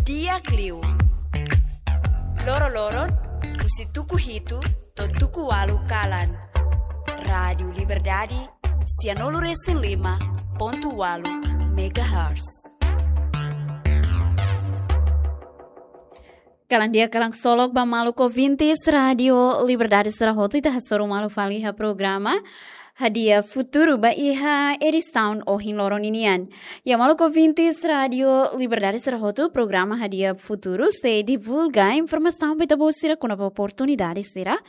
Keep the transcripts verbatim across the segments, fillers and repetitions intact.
Di'ak liu. Loro-loron, husi tuku hitu to'o tuku ualu kalan. Rádiu Liberdade, sianulu-resin-lima pontu ualu megahertz. Kalan di'ak, kalan ksolok ba maluk ouvintes Rádiu Liberdade sira hotu, ita hasoru malu fali iha programa Hadi'a Futuru ba iha edisaun ohin loron ninian. Ya, maluk ouvintes Rádiu Liberdade sira hotu, programa Hadi'a Futuru sei divulga informasaun ba ita-boot sira kona-ba oportunidade sira,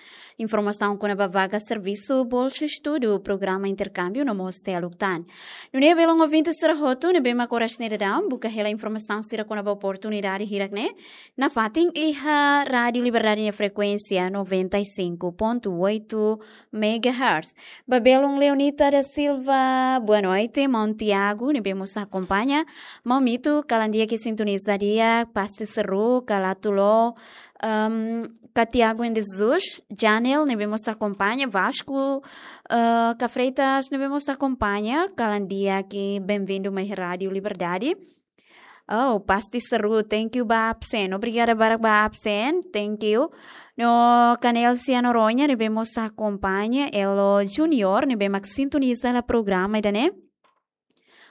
informasaun kona-ba vaga servisu, bolsa estudu, programa interkámbiu no mós seluk tan. Nune'e belun ouvintes sira hotu ne'ebé mak oras ne'e daudaun buka hela informasaun sira kona-ba oportunidade hirak-ne'e, nafatin iha Rádiu Liberdade nia frekuénsia noventa e cinco ponto oito megahertz. Ba belun Leonita da Silva, boa noite, maun Tiago ne'ebé mós akompaña. Maun Mito, kalan di'ak i sintoniza di'ak, pasti seru, ka Latulo, ehm, ka Tiago de Jesus, Janel ne'ebé mós akompaña, Vasco, eh, ka Freitas ne'ebé mós akompaña, kalan di'ak i benvindu mai Rádiu Liberdade. Oh, pasti seru. Thank you ba absen. Obrigada barak ba absen. Thank you. No ka Nelsia Noronha ne'ebé mós akompaña, Elo Junior ne'ebé mak sintoniza hela programa ida-ne'e.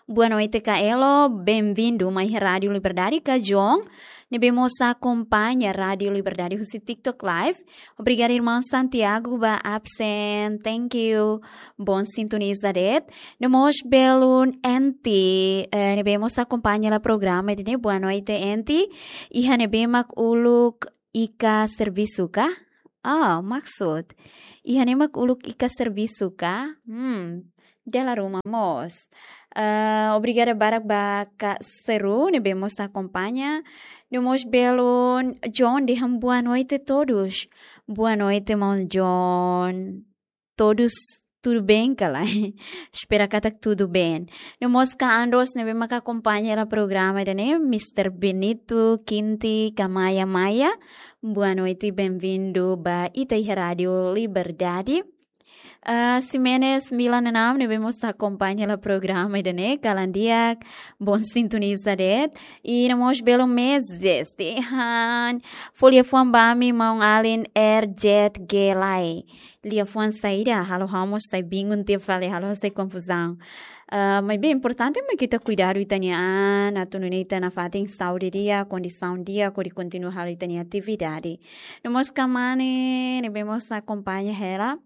Boa noite ka Elo, benvindu mai Rádiu Liberdade. Ka John ne'ebé mós akompaña Rádiu Liberdade husi TikTok Live. Obrigada, irmaun Santiago, ba absen. Thank you. Bon sintoniza de'it. No mós belun Enti, eh, ne'ebé mós akompaña hela programa ida-ne'e. Boa noite, Enti. Iha ne'ebé mak uluk Ika servisu ka? Ah, maksud. Iha ne'e mak uluk Ika servisu ka? Hmm, dala ruma mós. Eh, obrigada barak ba Kak Seru ne'ebé mós akompaña. No mós belun John dehan boa noite todos. Boa noite, maun John. Todos tudo bem ka lae? Espera katak tudo bem. No mós Kak Andros ne'ebé mak akompaña hela programa ida-ne'e, Mister Benito, Kinti, ka Maya Maya. Boa noite, benvindu ba ita iha Rádiu Liberdade. Ah, Ximenes Milan Enam ne'ebé mós akompaña hela programa ida-ne'e, kalan di'ak, bon sintoniza de'it. I no mós belun Mezes, dehan fó liafuan ba ami maun-alin R J G lae. Liafuan saida, halo ha'u mós sai bingung tiha fali, halo ha'u sai konfuzaun. Ah, maibé importante mak ita kuidadu ita-nia an, atu nune'e ita nafatin saúde di'ak, kondisaun di'ak, hodi kontinua halo ita-nia atividade. No mós Kak Mane ne'ebé mós akompaña hela.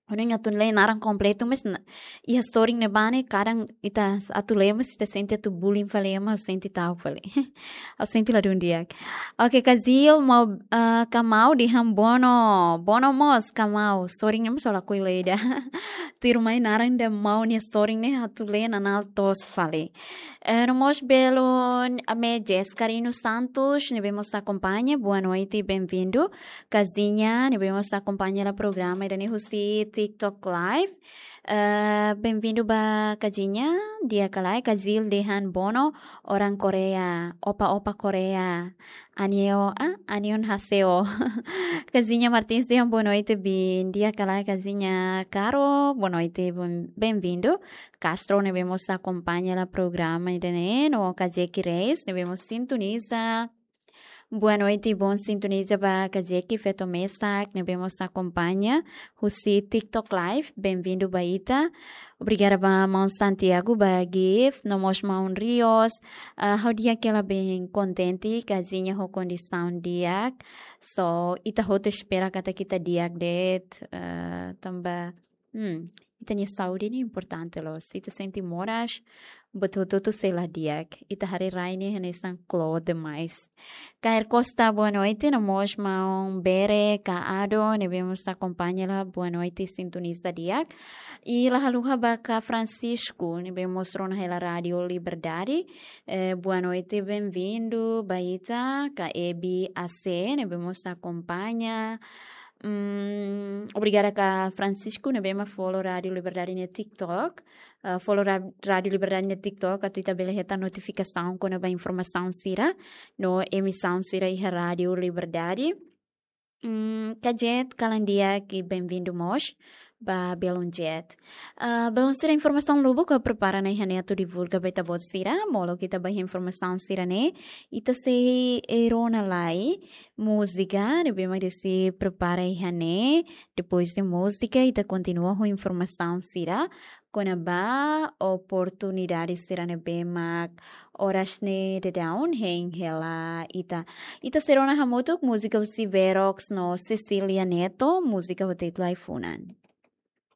Ha'u-nia atu lee naran kompletu, mas na, iha story ne'ebá ne'e kadang ita atu lee, mas ita sente atu bullying fali, mas sente ta'uk fali. Ha'u sente ladún di'ak. Oke, Kak Zil, maun, eh, Kak Maun dehan bono. Bono mós, Kak Maun. Story ne'e mós ha'u lakohi lee ida. Tuirmai naran ida maun nia story ne'e atu lee nanál toos fali. Eh, no mós belun Amejes Carino Santos, ne'ebé mós akompaña, boa noite, benvindu. Kak Zinha, ne'ebé mós akompaña hela programa ida-ne'e husi TikTok Live. Eh, benvindu ba Kak Zinha, di'ak ka lae, Kak Zil dehan bono, orang Korea, opa-opa Korea. Annyeong, ah, annyeonghaseyo. Kak Zinha Martins dehan boa noite, bin, di'ak ka lae, Kak Zinha Caro, boa noite, bom, benvindu. Castro ne'ebé mós akompaña hela programa ida-ne'e, no Kak Jeki Reis, ne'ebé mós sintoniza. Boa noite, bon sintoniza ba Kak Jeki, feto mesak ne'ebé mós akompaña husi TikTok Live, benvindu ba ita. Obrigada ba maun Santiago ba gift, no mós maun Rios. Ah, ha'u di'ak hela, bem kontente, Kak Zinha ho kondisaun di'ak. So, ita hotu espera katak ita di'ak de'it, ah, tanba Hmm, ita-nia saúde ne'e importante loos. Se ita sente moras, buat hotu-hotu sei la di'ak. Ita haree rai ne'e hanesan kloot demais. Kair Costa, boa noite. No mós maun Bere, Kak Ado, ne'ebé mós akompaña hela, boa noite, sintoniza di'ak. I la haluha ba Kak Francisco, ne'ebé mós rona hela Rádiu Liberdade. Eh, boa noite, benvindu ba ita. Kak Ebi A C, ne'ebé mós akompaña. Mm, obrigada Kak Francisco, ne'ebé mak follow Rádiu Liberdade nia TikTok. Ah, follow Ra-, Rádiu Liberdade nia TikTok, atu ita bele hetan notifikasaun kona-ba informasaun sira no emisaun sira iha Rádiu Liberdade. Mm, Kak Jet, kalan di'ak i benvindu mós. ba Belun Jet. Ah, belun sira, informasaun lubuk ha'u prepara ona iha ne'e atu divulga ba ita-boot sira, molok ita ba iha informasaun sira-ne'e, ita sei rona lai múzika ne'ebé mak ita sei prepara iha ne'e, depois de múzika ita kontinua ho informasaun sira, kona-ba oportunidade sira ne'ebé mak oras ne'e daudaun hein hela ita. Ita sei rona hamutuk múzika husi Verox no Cecilia Neto, múzika ho títulu Ai-funan.